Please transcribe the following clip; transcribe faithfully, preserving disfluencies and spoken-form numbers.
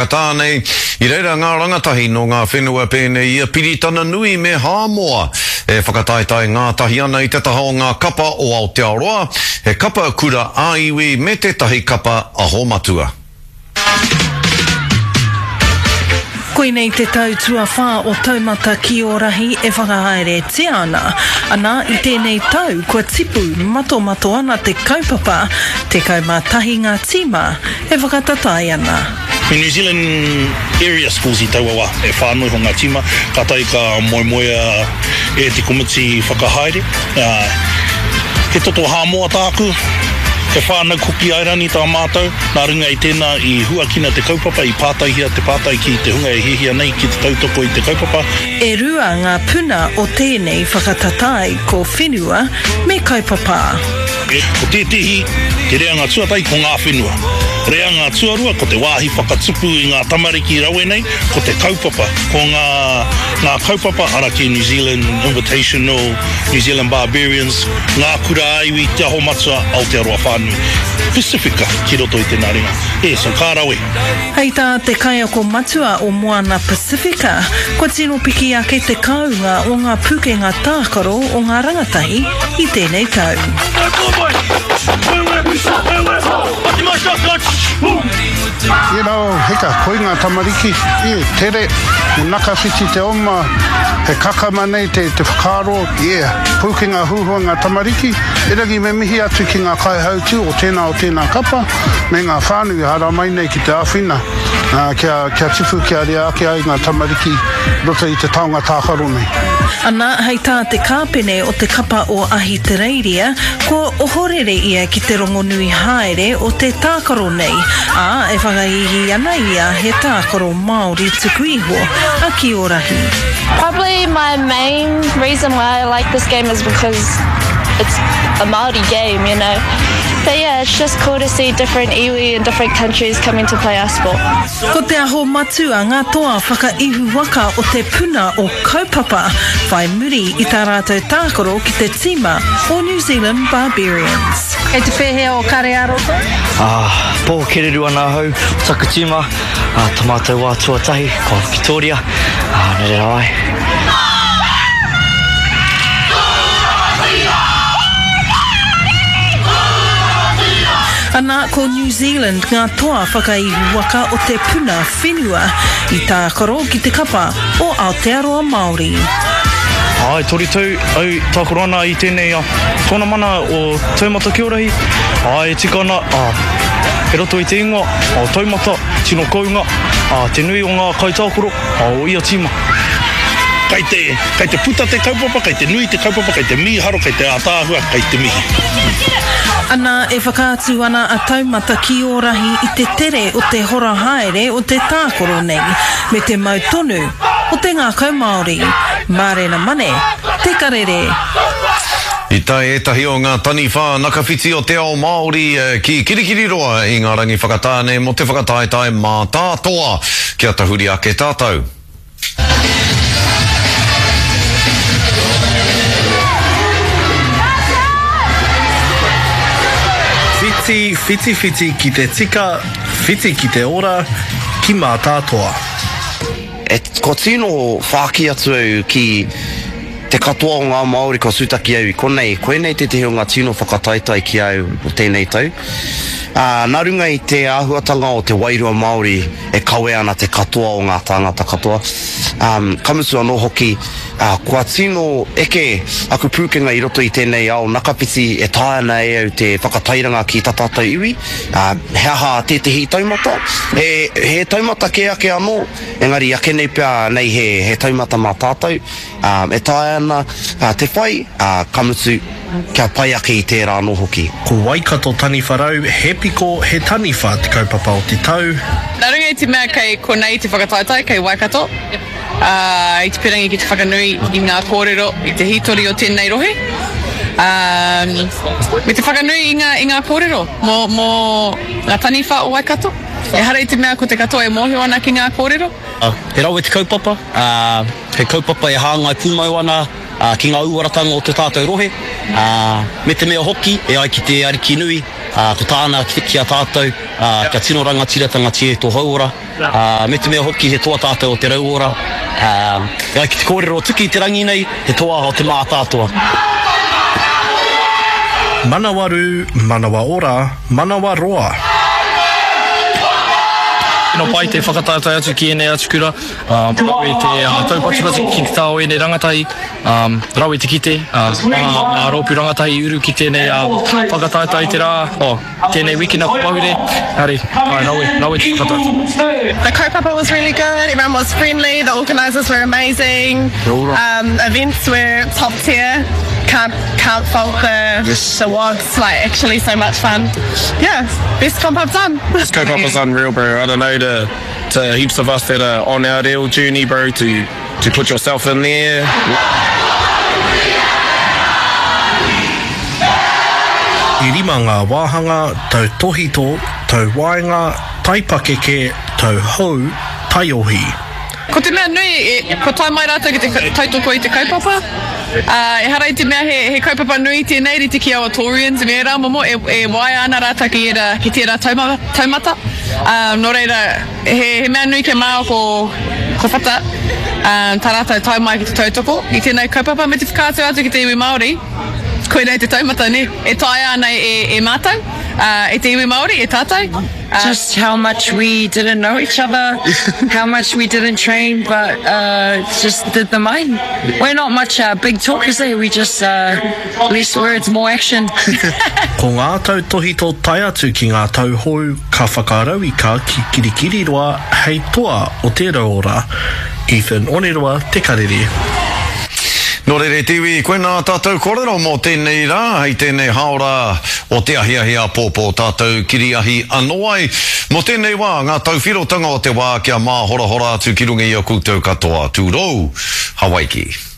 Whakatāne, i reira ngā rangatahi nō ngā whenua pēnei i a Piritana Nui me Hāmoa e whakataetae ngātahi ana i te taha o ngā kapa o Aotearoa, he kapa kura ā-iwi me tētahi kapa aho matua. Koinei te tau tuawhā o Taumata ki Ōrahi e whakahaeretia ana. Ana, i tēnei tau kua tipu matomato ana te kaupapa, tekau mā tahi ngā tīma e whakatatae ana. Me New Zealand Area Schools i taua wā, e whā noa iho ngā tīma, kātahi ka moemoea e te komiti whakahaere. He toto Hāmoa tāku, he whānau Kuki Airani tā mātou, nā runga i tēnā i huakina te kaupapa, i pātaihia te pātai ki te hunga e hiahia nei ki te tautoko i te kaupapa. E rua ngā puna o tēnei whakatatae, ko whenua me kaupapa. Ko tētehi, te reanga tuatahi ko ngā whenua. Reanga tuarua ko te wāhi whakatupu i ngā tamariki rawe nei, ko te kaupapa, ko ngā, ngā kaupapa ara ki New Zealand Invitational, New Zealand Barbarians, ngā kura ā-iwi, Te Aho Matua, Aotearoa whānui. Pasifika ki roto i tēnā ringa. E, so ka rawe. Hei tā te kaiako matua o Moana Pasifika, kua tino piki ake te kounga o ngā pukenga tākaro o ngā rangatahi i tēnei tau. You know, hika, koi ngā tamariki, e, tere, he nakawhiti te oma, he kakama nei te, te whakaaro, yeah, pūkenga huhua ngā tamariki, erangi me mihi atu ki ngā kaihautū o tēnā o tēnā kapa, me ngā whānau i haramai nei ki te āwhina, ā, kia, kia tipu, kia rea ake ai ngā tamariki roto i te taonga tākaro nei. Ana, hei tā te kāpene o te kapa o Ahitereiria, kua ohorere ia ki te rongonui haere o te tākaro nei, ā, e whakahīhī ana ia he tākaro Māori tuku iho a Kiorahi. Probably my main reason why I like this game is because it's a Māori game, you know. But yeah, it's just cool to see different iwi and different countries coming to play our sport. Ko Te Aho Matua ngā toa whakaihu waka o te puna o Kaupapa, whai muri i tā rātou tākaro ki te tīma o New Zealand Barbarians. Kei te pēhea o kare ā-roto? Ah, pō kereru ana ahau, o taku tīma, ah, tā mātou wā tuatahi, ko Victoria, ah, nō reira ai. Ana, ko New Zealand ngā toa whakaihu waka o te puna whenua i tākaro ki te kapa o Aotearoa Māori. Āe, toru tau au tākaro ana i tēnei tōnamana o Taumata Kiorahi. Āe, e tika ana, i roto i te ingoa o Taumata, tino kounga, te nui o ngā kaitākaro o ia tīma. Kei te, kei te puta te kaupapa, kei te nui te kaupapa, kei te mīharo, kei te ātaahua, kei te mihi. Ana, e whakaatu ana a Taumata ki Ōrahi i te tere o te hora haere o te tākaro nei, me te mau tonu o te ngākau Māori. Mārena Mane, Te Karere. I tae ētahi o ngā taniwha nakawhiti o te ao Māori ki Kirikiriroa i ngā rangi whakatāne mō te whakataetae mātātoa. Kia tahuri ake tātou. Whiti, whiti, whiti ki te tika, whiti ki te ora, ki Mātātoa. E, kua tino whāki atu au ki te katoa o ngā Māori kua tūtaki au i konei, koinei tētehi o ngā tino whakataetae ki a au o tēnei tau. Ā, nā runga i te āhuatanga o te wairua Māori e kawe ana te katoa o ngā tāngata katoa, ā, ka mutu anō hoki, ā, kua tino eke aku pūkenga i roto i tēnei ao nakapiti e taea ana e au te whakatairanga ki tā tātou iwi, ā, he aha tētehi taumata? He, he taumata kē ake anō, engari ake nei pea nei he, he taumata mā tātou, ā, e taea ana te whai, ā, ka mutu, kia pai ake i tērā anō hoki. Ko Waikato Taniwharau, he piko, he taniwha te kaupapa o te tau. Nā runga i te mea kei konei te whakataetae, kei Waikato, ā, i te pirangi ki te whakanui i ngā kōrero, i te hītori o tēnei rohe, ā, me te whakanui i ngā, i ngā kōrero mō, mō ngā taniwha o Waikato. Ehara i te mea ko te katoa e mōhio ana ki ngā kōrero. He rawe te kaupapa, ā, he kaupapa e hāngai pūmau ana ki ngā uaratanga o tō tātou rohe, ā, me te mea hoki, e ai ki te Ariki nui, ā, Ā, ko tāna ki, ki a tātou, ā, kia tino rangatiratanga tia tō hauora, ā, me te mea hoki he toa tātou o te rauora, ā, e ai ki te kōrero o Tuki i te rangi nei, he toa o te mātātoa. Manawarū, manawa ora, manawa roa. Tino pai te whakataetae atu ki ēnei atu kura, rawe te taupatupatu ki te taha o ēnei rangatahi, rawe te kite, ngā rōpū rangatahi i uru ki tēnei whakataetae i te rā, oh, tēnei wikina ko Pahure, engari, āe, rawe, rawe te whakataetae. The kaupapa was really good, everyone was friendly, the organisers were amazing, um, events were top tier, can't, can't fault the, the wogs, like actually so much fun. Yeah, best comp I've done. This kaupapa's unreal, bro. I don't know, to, to heaps of us that are on our real journey, bro, to, to put yourself in there. E rima ngā wāhanga, tau tohito, tau waenga, taipakeke, tau hou, taiohi. Ko te mea nui, e, kua tae mai rātou ki te tautoko i te kaupapa. Ā, ehara i te mea he, he kaupapa nui tēnei, rite ki aua Taurians me ērā momo, e, e waia ana rātou ki ērā, ki tērā tauma, taumata. Ā, nō reira, he, he mea nui kia māo ko, ko Whata, ā, tā rātou tae mai ki te tautoko i tēnei kaupapa me te whakaatu atu ki te iwi Māori, koinei te taumata, nē, e taea ana e, e mātou, ā, e te iwi Māori, e tātou. Ā. Just how much we didn't know each other, how much we didn't train, but uh, just did the mahi. We're not much uh, big talkers, eh? We just uh, less words, more action. Ko ngā tautōhito tae atu ki ngā tau hou ka whakarauika ki Kirikiriroa hei toa o te rauora. Ethan Oneroa Te Karere. Nō reira e te iwi, koinā tātou kōrero mō tēnei rā, hei tēnei hāora o te ahiahi āpōpō tātou kiriahi anō ai. Mō tēnei wā, ngā tauwhirotanga o te wā kia māhorahora atu ki runga i a koutou katoa. Tūrou, Hawaiki.